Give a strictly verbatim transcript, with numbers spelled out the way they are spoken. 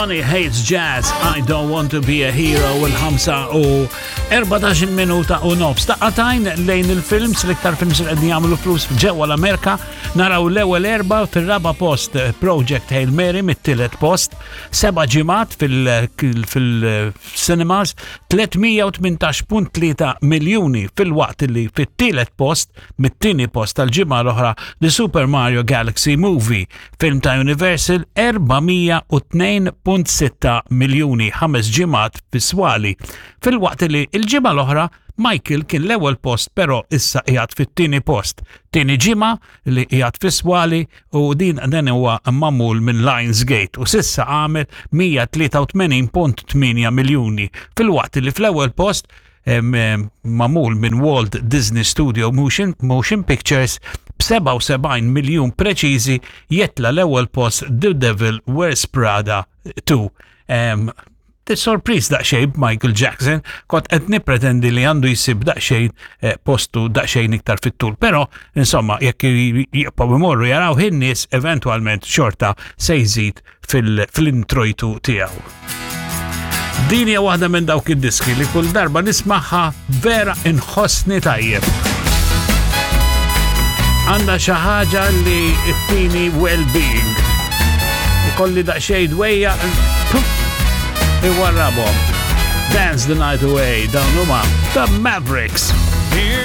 Johnny Hates Jazz, I Don't Want to Be a Hero, il-ħamsa u erbatax-il minuta u nofs. Daqqa t'għajn lejn il-films, l-iktar films li qegħdin jagħmlu flus ġewwa l-Amerika, naraw l-ewwel erba. Fir-raba post Project Hail Mary mit-tielet post, seba' ġimgħat fil-cinemas, tliet mija u tmintax punt tlieta miljuni, filwaqt li fit-tielet post, mit-tieni post tal-ġimgħa l-oħra, The Super Mario Galaxy Movie, film ta' Universal, erba' mija u tnejn punt sitta miljuni, ħames ġimgħat fis-swali. Filwaqt li il-ġimgħa l-oħra Michael kien l-ewwel post, però issa qiegħed fit-tieni post. Tieni ġimgħa li qiegħed fis-swali u din dan huwa magħmul minn Lionsgate u s'issa għamel mija tlieta u tmenin punt tmienja miljuni. Filwaqt li fl-ewwel post em, em, magħmul minn Walt Disney Studio Motion, Motion Pictures b'sebgħa u sebgħin miljun preċiżi jitla' l-ewwel post The Devil Wears Prada tnejn. Em, Sorpriż daqsxejn Michael Jackson, kont qed nippretendi li għandu jsib daqsxejn eh, postu daqsxejn iktar fit-tul, però insomma jekk jibqgħu imorru jaraw in-nies, eventwalment xorta se jżid fil-introjtu tiegħu. Din hija waħda minn dawk id-diski li kull darba nismagħha vera inħossni tajjeb. Għandha xi ħaġa li ttini well-being. Ikolli daqsxejn dwejjaq, iwarrabhom. Dance the Night Away, dawn huma The Mavericks. Here